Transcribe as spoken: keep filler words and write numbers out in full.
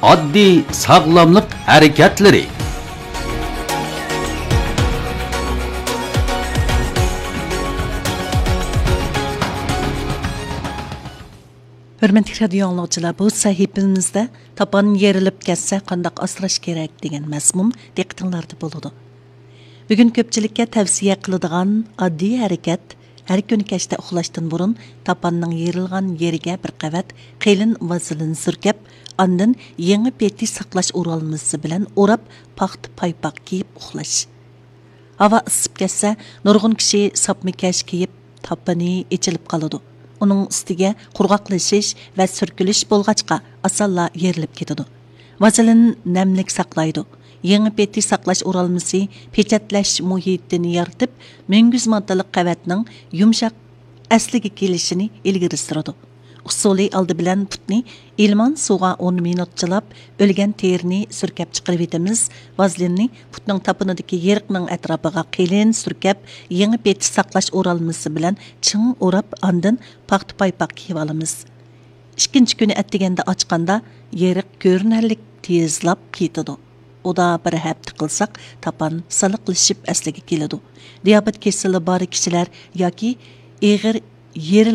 ئاددىي ساغلاملىق ھەرىكەتلىرى. ھۆرمەتلىك رادىيو ئاڭلىغۇچىلار، بۇ سەھىپىمىزدە تاپان يېرىلىپ كەتسە قانداق ئاسراش كېرەك دېگەن مەزمۇن دىققىتىڭلاردا بولىدۇ. بۈگۈن كۆپچىلىككە تەۋسىيە قىلىدىغان ئاددىي ھەرىكەت، ھەر كۈنى كەچتە ئۇخلاشتىن بۇرۇن تاپاننىڭ يېرىلغان يېرىگە بىر قەۋەت قېلىن ۋازېلىن سۈركەپ، ئاندىن يېڭى پېتى ساقلاش ئورالمىسى بىلەن ئوراپ، پاختا پايپاق كىيىپ ئۇخلاش. ھاۋا ئىسسىپ كەتسە، نۇرغۇن كىشى ساپما كەش كىيىپ، تاپىنى ئېچىلىپ قالىدۇ. ئۇنىڭ ئۈستىگە قۇرغاقلىشىش ۋە سۈركىلىش بولغاچقا، ئاسانلا يېرىلىپ كېتىدۇ. ۋازېلىن نەملىك ساقلايدۇ. يېڭى پېتى ساقلاش ئورالمىسى پېچەتلەش مۇھىتىنى يارىتىپ، مۈڭگۈز ماددىلىق قەۋەتنىڭ يۇمشاق ئەسلىگە كېلىشىنى ئىلگىرى سۈرىدۇ. ئۇسۇلى ئالدى بىلەن پۇتنى ئىلمان سۇغا ئون مىنۇت چىلاپ، ئۆلگەن تېرىنى سۈركەپ چىقىرىۋېتىمىز. ۋازېلىننى پۇتنىڭ تاپىنىدىكى يېرىقنىڭ ئەتراپىغا قېلىن سۈركەپ، يېڭى پېتى ساقلاش ئورالمىسى بىلەن چىڭ ئوراپ، ئاندىن پاختا پايپاق كىيىۋالىمىز. ئىككىنچى كۈنى ئەتىگەندە ئاچقاندا، يېرىق كۆرۈنەرلىك تېزلاپ كېتىدۇ. ئۇدا بىر ھەپتە قىلساق، تاپان سىلىقلىشىپ ئەسلىگە كېلىدۇ. دىيابېت كېسىلى بار كىشىلەر ياكى ئېغىر يېرىلىپ